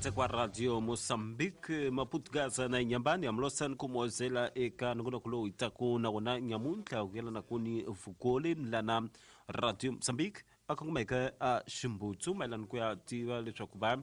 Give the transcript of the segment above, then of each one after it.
Ri kwa Radio Mozambique, Maputo, Gaza na Inhambane, amlosani kumozela eka nongonoko lowu hi taku na wona nyamuntlha ku yelana ku ni vukoli lana Radio Mozambique a kongomeke a ximbutsu mayelana ku ya tiva leswaku va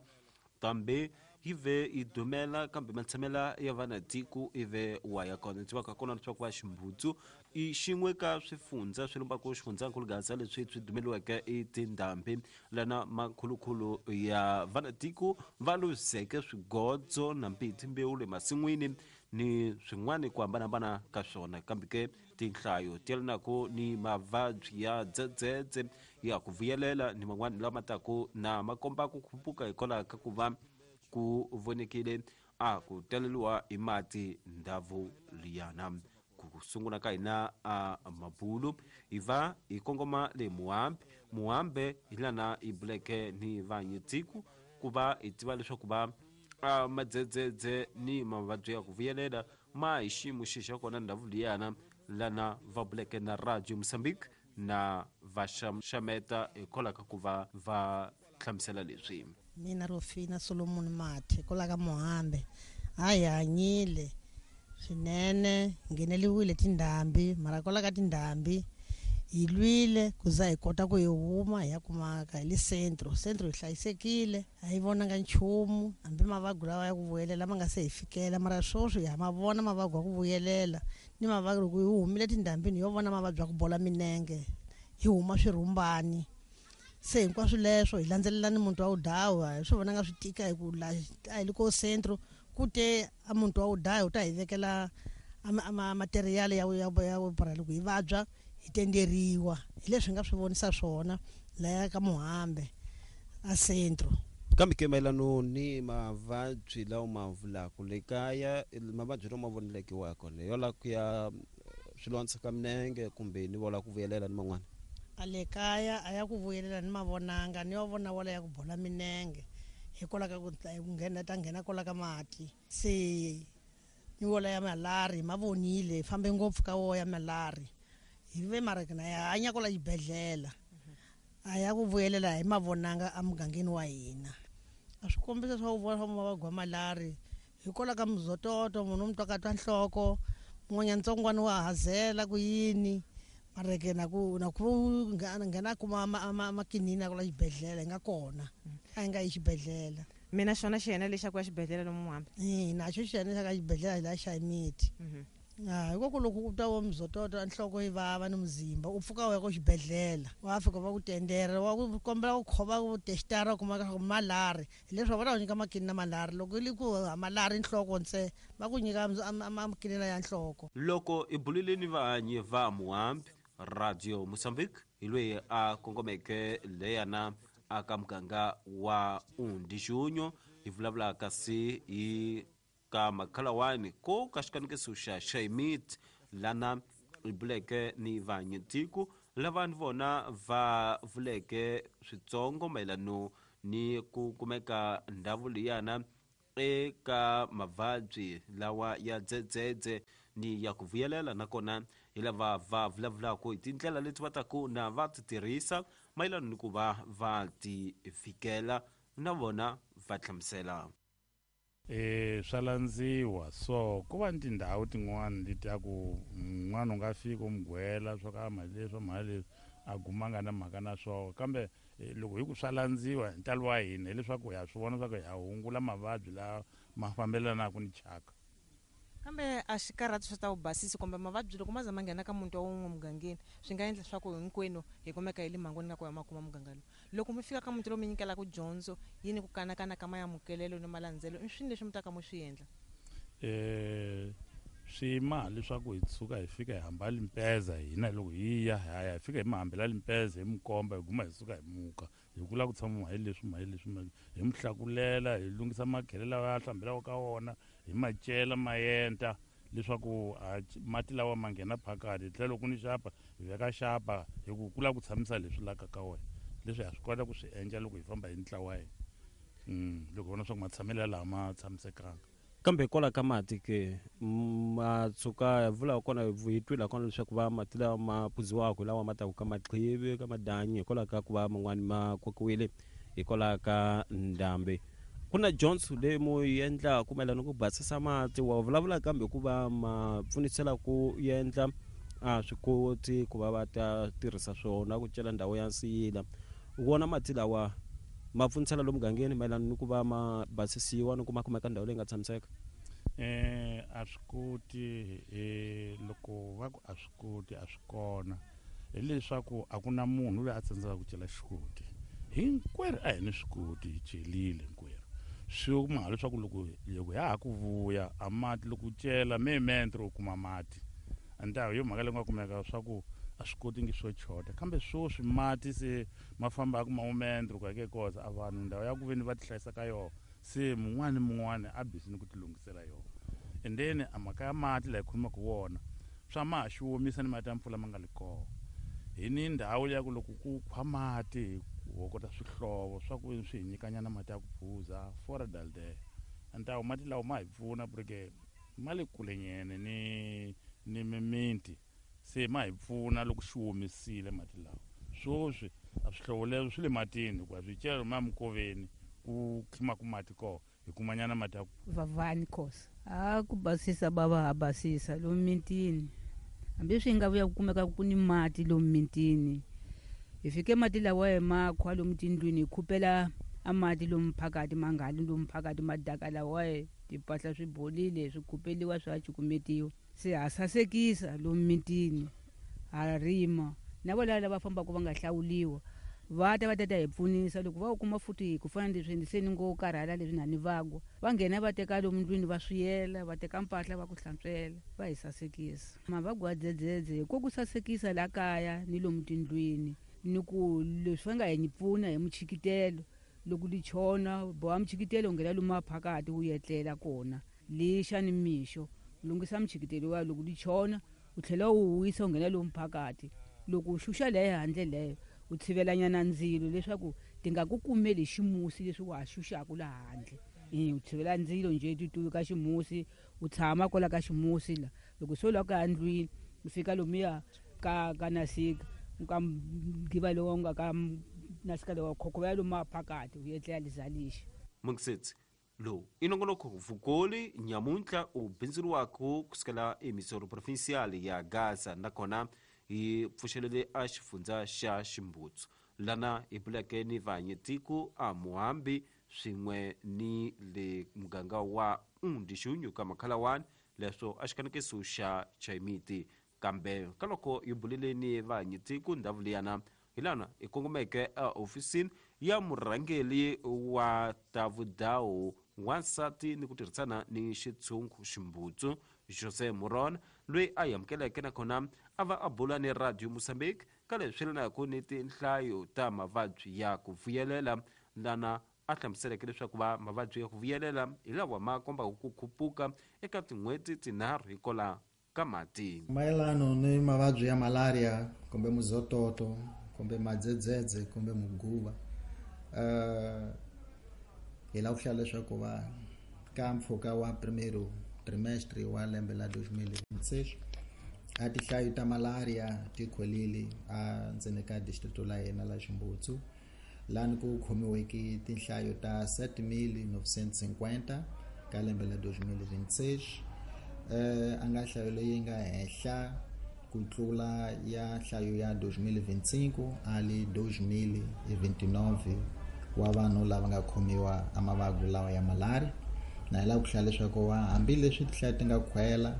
kambe yi ve yi dumela kambe matshamela ya vana tiko i ve wa ya kona. Tivaka kona leswaku va ximbutsu i xin'we ka swifundza swi lumbaka xifundzankulu Gaza leswi swi dumeliweke i tindhambi lana makhulukhulu ya vanatiko va luzeke swigodzo na mbiti mbewu le masin'wini ni swin'wana ku hambanahambana ka swona. Kambe ke tinhlayo ti yelanaka ni mavabyi ya dzedzedze ya ku vuyelela ni man'wana lama taku na ma komba ku khupuka hikwalaho ka ku va ku vonekile a ku taleliwa hi mati ndhavu liyana. Ku sungula ka hina a mabulu hi va hi kongoma le Muhambe. Muhambe hi lana hi buleke ni vanyitiku ku va hi tiva leswaku va a madzedzedze ni mavabyi ya ku vuyelela ma hi xiyimo xi xa kona ndhavu liyana lana va buleke na Radio Mozambique na va xameta hikwalaho ka ku va va hlamusela leswi. Mina Rofina Solomon Mathe kwala ka Muhambe a hi hanyile swinene, ngheneliwile tindhambi, mara kwala ka tindhambi hi lwile ku za hi kota ku hi huma hi ya kumaka hi le centro. Centro hi hlayisekile, a hi vonanga nchumu hambi mavabyi lawa ya ku vuyelela ma nga se hi fikela, mara sweswi ha ma vona mavabyi ya ku vuyelela ni mavabyi. Loko hi humile tindhambini yo vona mavabyi ya ku bola minenge, hi huma swirhumbani, se hinkwaswo leswo hi landzelela ni muntu wa wudawa hi swi vonanga swi tika hi ku la a hi le ko centro ku te a muntu wa wudawa u ta hi vekela material ya ya ya loko hi vabya hi tenderiwa. Hi leswi hi nga swi vonisa swona laya ka Muhambe a centro. Kambe ke mayelano ni mavabyi lawa ma vulaka le kaya, mavabyi lawa ma voneleke wa kona yo la ku ya swilondza ka minenge kumbe ni vola ku vuyelela ni man'wana? A le kaya a ya ku vuyelela ni mavonanga, ni yo vona wala ya ku bola minenge hikwalaho ka ku nghena ta nghena kwala ka mati, se ni wola ya malari ma vonile, hi fambe ngopfu ka wo ya malari hi ve mara na ya hanya kwala xibedhlele a ya ku vuyelela hi mavonanga emugangeni wa hina. A swi kombisa swa ku vona swa mavabyi ya malari hikwalaho ka muzototo, munhu u mu twa ka twa nhloko, mun'wanyana ntsongwana wa hazela ku yini, mara ke na ku na ku nghena kuma makinini ya kwala xibedhlele hi nga kona a hi nga yi xibedhlele. Mina xona xiyena lexi xa ku ya xibedhlele lomu Muhambe? Naxo xiyena xa ka xibedhlele la xa miti. Hikoku loko u twa wa muzototo nhloko yi vava ni muzimba u pfuka u ya ko xibedhlele, wa fika va ku tendera, wa ku kombela ku khova ku testara u kuma leswaku malari, hileswaku va ta ku nyika makinina malari. Loko yi ku malari nhloko ntse va ku nyika makinina ya nhloko. Loko hi bulile ni vahanyi va Muhambe, Radio Mozambique hi loyi a kongomeke leyana aka muganga wa Undijunyo, hi vulavula kasi hi ka makhalawani ko ka xikanekiso xa Xaimit lana hi buleke ni vanyitiko lava ni vona va vuleke switsongo mayelano ni ku kumeka ndhawu liyana eka mavabyi lawa ya dzedzedze ni ya ku vuyelela, nakona hi lava va vulavulaka hi tindlela leti va taku na va ti tirhisa mayelana ni ku va va ti fikela, na vona va hlamusela. Swa landziwa so ku va ni tindhawu tin'wana leti ya ku un'wana u nga fika u mu gwela swa ka mali leswi mali leswi a guma nga na mhaka na swona, kambe loko hi ku swa landziwa hi ntalo wa hina hileswaku ha swi vona swa ku ha hungula mavabyi lawa ma fambelanaka ni chaka. Kambe a xi karhati swa ta vubasisi kumbe mavabyi loko ma za ma nghena ka muti wa wun'we mugangeni swi nga endla swa ku hinkwenu hi kumeka hi le mhangwini nga ku ya ma kuma muganga lowu. Loko mi fika ka muti lowu mi nyikelaka dyondzo yi ni ku kanakana ka mayamukelelo ni malandzelo, i swini leswi mi taka mu swi endla? Swi ma leswaku hi tshuka hi fika hi hamba limpeza hina loko hi ya hi ya hi fika hi mi hambela limpeza hi mi komba hi guma hi suka hi muka hi ku lava ku tshama hi leswi hi leswi hi mi hlakulela hi lunghisa makhele lawa ya hlambelaka ka wona hi ma cela ma enta leswaku mati lawa ma nghena phakati, hi tlhela loko ni xapa hi veka xapa hi ku ku lava ku tshamisa leswi laka ka wena, leswi ha swi kota ku swi endla loko hi famba hi ntlawa wa hina, loko hi vona swa ku matshamelo laha ma tshamisekanga. Kambe hikwalaho ka mati ke ma tshuka hi vula kona hi twila kona leswaku va mati lawa ma phuziwaka hi lawa ma taka ka maqhivi ka madanyi hikwalaho ka ku va man'wani ma kokiwile hikwalaho ka ndhambi. Ku na dyondzo leyi mu yi endlaku mayelana ku basisa mati, wa vulavula kambe ku va ma pfunisela ku endla a swi koti ku va va ta tirhisa swona ku cela ndhawu ya nsiyila. Wona mati lawa ma pfunisela lomu mugangeni mayelana ni ku va ma basisiwa ni ku ma kumeka ndhawu leyi nga tshamiseka? A swi koti. Loko va ku a swi koti, a swi kona, hileswaku a ku na munhu loyi a tsandzekaka ku cela xikoti. Hinkwerhu a hi ni swikoti, hi celile hinkwerhu. Swi kuma leswaku loko ya ha ku vuya a mati, loko u cela mementro u kuma mati. Antawu yo mhaka leyi nga kumeka swa ku a swi koti ngi swo chota, kambe swoswi mati se ma fambaka mamomentro ku ya ke koza a vanhu ndhawu ya ku veni va ti hlayisa ka yona, se mun'wana ni mun'wana a busy ni ku ti lunghisela yona. And then a mhaka ya mati laha hi khomaka wona swa ma ha xi omisa ni mati ya mpfula ma nga li kona. Hi ni ndhawu ya ku loko ku khwa mati hi hokota swihlovo swa ku swi hi nyikanyana mati ya ku phuza fora dalde. Antawu mati lawa ma hi pfuna porque ma le kulenyene ni mimiti, se ma hi pfuna loko xi omisile mati lawa. Swoswi a swihlovo leswo swi le matini, hikuva swi cela ma mikoveni ku khimaka mati kona, hi kumanyana mati ya ku Vavani Khosa. A ku basisa bava ha basisa lomu mitini, hambi swi nga vuya ku kumeka ku ni mati lomu mitini. Hi fike mati lawa hi ma khwa lomu tindlwini, hi khupela a mati lomu phakati, ma nga li lomu phakati, madaka lawa timpahla swi bolile, swi khupeliwa, swa cukumetiwa. Se ha sasekisa lomu mitini, ha rima. Na vo lava fambaka va nga hlawuliwa va ta va ta ta hi pfunisa. Loko va wu kuma futhi ku fana na leswi se ni ngo karhala leswi na ni vagwa, va nghena va teka lomu ndlwini va swiyela, va teka mpahla va ku hlantswela, va hi sasekisa. Mavabyi ya dzedzedze hi ko ku sasekisa la kaya ni lomu tindlwini, ni ku leswi va nga hi pfuna hi muchikitelo. Loko li chona boha muchikitelo u nghena lomu phakati wu etlela kona, lixa ni mixo lunghisa muchikitelo wa loko li chona u tlhela u wisa u nghena lomu phakati. Loko u xuxa leyo handle leyo u tshivelanyana ndzilo leswaku ti nga ku kumeli ximusi leswi wa ha xuxaka laha handle. U tshivela ndzilo njhe ti ka ximusi, u tshama kwala ka ximusi la. Loko se u lava ku ya ndlwini u fika lomuya ka nasika ka ngiva lowu nga ka nasika lowu khokhovela lomu phakati u etlela lizalixa. Mungisetsi lowu i nongonoko vukoli nyamuntlha u bindzuriwaka kusukela emisoro provincial ya Gaza, nakona hi pfuxelele a xifundza xa Ximbutsu lana hi buleke ni vahanyetiko a Muhambi swin'we ni le muganga wa Undixunyu ka Makhalawani, leswo a xikanekiso xa Chaimiti. Kambe ka loko hi bulile ni vahanyetiko ndhawu liyana, hi lana hi kongomeke ehofisini ya murhangeri wa ta vudawu wansati ni ku tirhisana ni xitshungu Ximbutsu Jose Moron, loyi a amukeleke nakona a va a bula ni Radio Mozambique ka leswi yelanaka ni tinhlayo ta mavabyi ya ku vuyelela, lana a hlamuseleke leswaku va mavabyi ya ku vuyelela hi lawa ma kombaka ku khupuka eka tin'hweti tinharhu hikola ka mati. Mayelano ni mavabyi ya malaria kumbe muzototo kumbe madzedzedze kumbe muguva, hi lava ku hlaya leswaku va ka mpfhuka wa primeiro trimestre wa lembe la 2026 a tinhlayo ta malaria ti khwelile a ndzeni ka distrito la hina la Ximbutsu, lani ku khomiweke tinhlayo ta 7950 ka lembe la 2026, a nga nhlayo leyi nga henhla ku tlula ya nhlayo ya 2025 ali 2029 wa vanhu lava nga khomiwa a mavabyi lawa ya malaria. Na hi lava ku hlaya leswaku hambileswi tinhlayo ti nga khwela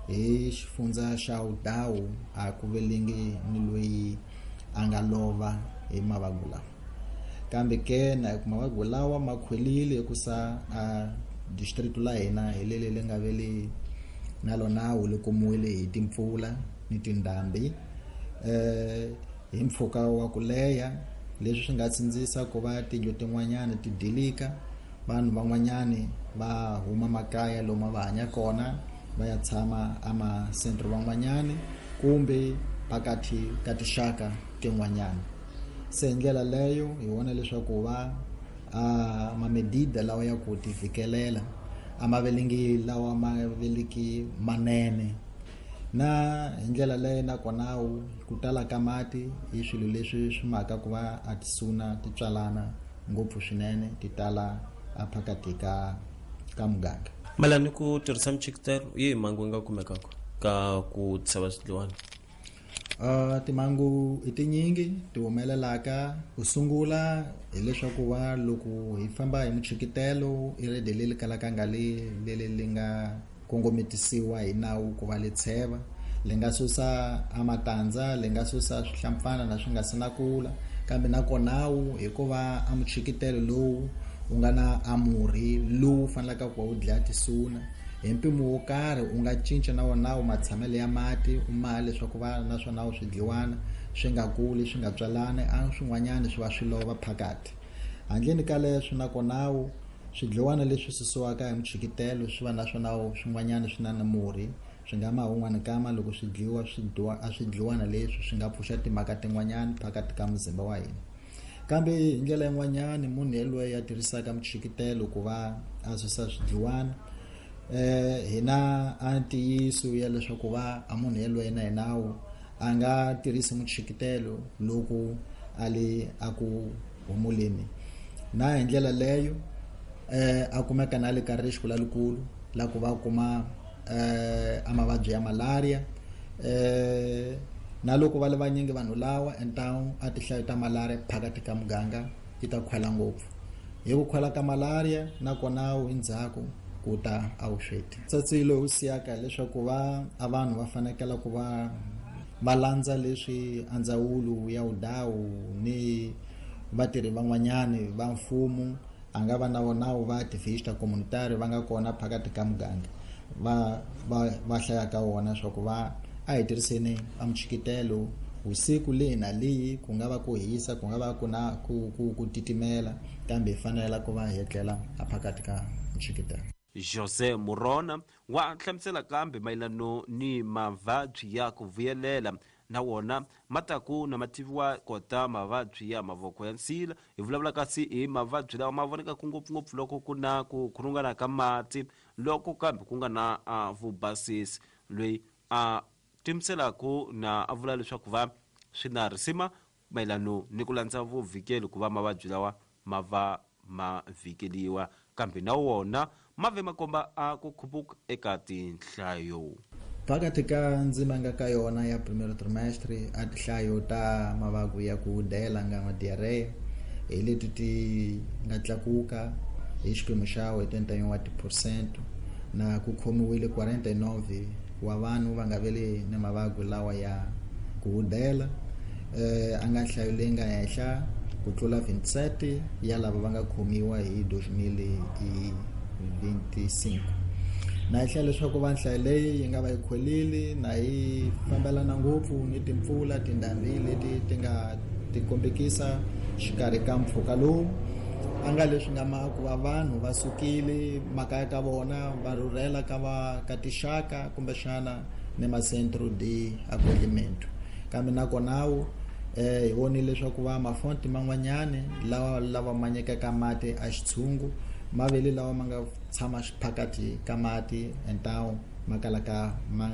hi xifundza xa Udawu, a ku velengi ni loyi a nga lova hi mavabyi lawa, kambe ke na ku mavabyi lawa ma khwelile hikusa a district la hina hi leli li nga veli na lona wu li kumiwile hi timpfula ni tindhambi hi mpfhuka wa ku leha, leswi swi nga tsindzisa ku va tindlu tin'wanyana ti dilika, vanhu van'wanyani va huma makaya lomu va hanya kona va ya tshama amasentro van'wanyani kumbe phakathi ka tinxaka tin'wanyana. Se hi ndlela leyo hi vona leswaku va mamedida lawa ya ku ti fikelela a ma velengi lawa ma veliki manene, na hi ndlela leyo nakona ku tala ka mati i swilo leswi swi maka ku va a tisuna ti tswalana ngopfu swinene, ti tala a phakathi ka muganga. Mayelana ni ku tirhisa michikitelo yi hi mhangu yi nga kumekaka ka ku tsheva swidliwani? Timhangu i tinyingi ti humelelaka. Ku sungula hileswaku va loko hi famba hi muchikitelo i rede leri kalaka nga leri li nga kongometisiwa hi nawu ku va le tsheva, li nga susa a matandza, li nga susa swihlampfana na swi nga si na kula. Kambe nakonawu hikuva a muchikitelo lowu u nga na a murhi lowu fanelaka ku va wu dlaya tisuna hi mpimo wo karhi, u nga cinca na wona wu matshamelo ya mati u maha leswaku va naswona wu swidliwana swi nga kuli swi nga tswalani, a swin'wanyana swi va swi lova phakathi. Handleni ka leswo nakonawu swidliwana leswi susiwaka hi muchikitelo swi va naswona swin'wanyana swi na murhi, swi nga ma wun'wana kama loko swi dliwa a swidliwana leswi swi nga pfuxa timhaka tin'wanyana phakathi ka muzimba wa hina. Kambe hi ndlela yin'wanyana munhu yelweyo a tirhisaka muchikitelo ku va a susa swidliwana, hina a ntiyiso ya leswaku va a munhu yelweyo na hinawu a nga tirhisi muchikitelo loko a le a ku humuleni, na hi ndlela leyo a kumeka na le ka risiko lalikulu la ku va kuma a mavabyi ya malaria. Na loko va le vanyingi vanhu lawa entawu a tihlayo ta malaria phakathi ka muganga yi ta khwela ngopfu. Hi ku khwela ka malaria nakona wu endzhaku ku ta a vusweti. Tsatsilo wu siyaka leswaku va a vanhu va fanekela ku va landza leswi a ndzawulo ya vudawu ni vatirhi van'wanyani va mfumo a nga va na vona va activista communitary va nga kona phakathi ka muganga va hlayaka wona swa ku va a hi tirhiseni a muchikitelo usiku leyi na leyi, ku nga va ku hisa, ku nga va ku na ku titimela, kambe hi fanela ku va hi etlela a phakathi ka muchikitelo. José Murona wa hlamusela kambe mayelano ni mavabyi ya ku vuyelela na wona mataku na mativiwa kota mavabyi ya mavoko ya nsila. Hi vulavula kasi hi mavabyi lawa ma vonekaka ngopfungopfu loko ku na ku khulungana ka mati, loko kambe ku nga na vubasisi. Loyi a timiselaka na a vula leswaku va swi na risima mayelano ni ku landza vuvhikeli ku va mavabyi lawa ma va ma vhikeliwa, kambe na wona ma ve makomba a ku khupuka eka tinhlayo. Phakathi ka ndzima nga ka yona ya primero trimestre a tinhlayo ta mavabyi ya ku dela nga ma diarrhea hi leti ti nga tlakuka hi xiphemu xa 81% na ku khomiwile 49 wa vanhu va nga vele ni mavabyi lawa ya ku dela, a nga nhlayo leyi nga henhla ku tlula 27 ya lava va nga khomiwa hi 2025. Na hi hlela leswaku va nhlayo leyi yi nga va yi khwelile na yi fambelana ngopfu ni timpfula tindhambi leti ti nga ti kombekisa xikarhi ka mpfhuka lowu a nga leswi nga ma ku va vanhu va sukile makaya ka vona va rhurhela ka va ka tixaka kumbexana ni macentro de acolhimento. Kambe nakonawu hi vonile leswaku va mafonti man'wanyani lawa ma nyikaka mati a xitshungu ma vele lawa ma nga tshama phakathi ka mati entawu ma kalaka ma